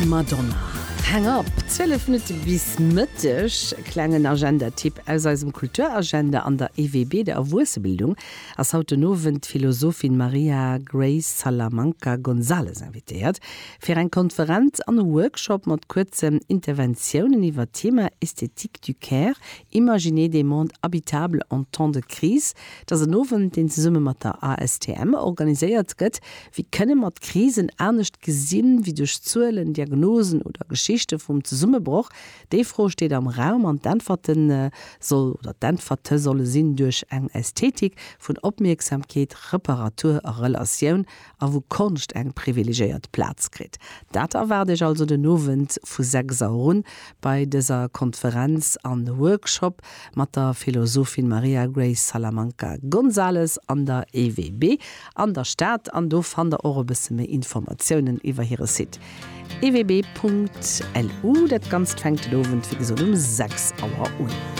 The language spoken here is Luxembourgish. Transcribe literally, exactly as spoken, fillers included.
Madonna. Hang Up, zwielef Minutte bis Mëtteg. Klengen Agenda-Tipp aus eisem Kulturagenda: An der E W B, der Erwuessebildung, ass haut den Owend d'Philosophin Maria Grace Salamanca González invitéiert fir eng Konferenz an e Workshop mat kuerzen Interventiounen iwwer d'Thema Esthétique du Care, imaginer des mondes habitables en temps de crise. Dat ass en Owend, deen zesumme mat der A S T M organiséiert gëtt. Wéi kënne mer Krisen anescht gesinn wéi duerch Zuelen, Diagnosen oder Geschichte vum Zesummebroch? Déi Fro steet am Raum an d'Äntwerten äh, soll oder d'Äntwerte solle sinn duerch eng Ästhetik vun Opmierksamkeet, Reparatur a Relatioun a wou Konscht eng privilegiéiert Plaz kritt. Dat erwaart iech also den Owend vu sechs Auer un bei dëser Konferenz an Workshop mat der Philosophin Maria Grace Salamanca González an der E W B an der Stad, an do fannt der och e bësse méi Informatiounen iwwer hire Site E W B Punkt L U. Dat Ganzt fänkt den Owend wéi gesot um sechs Auer un.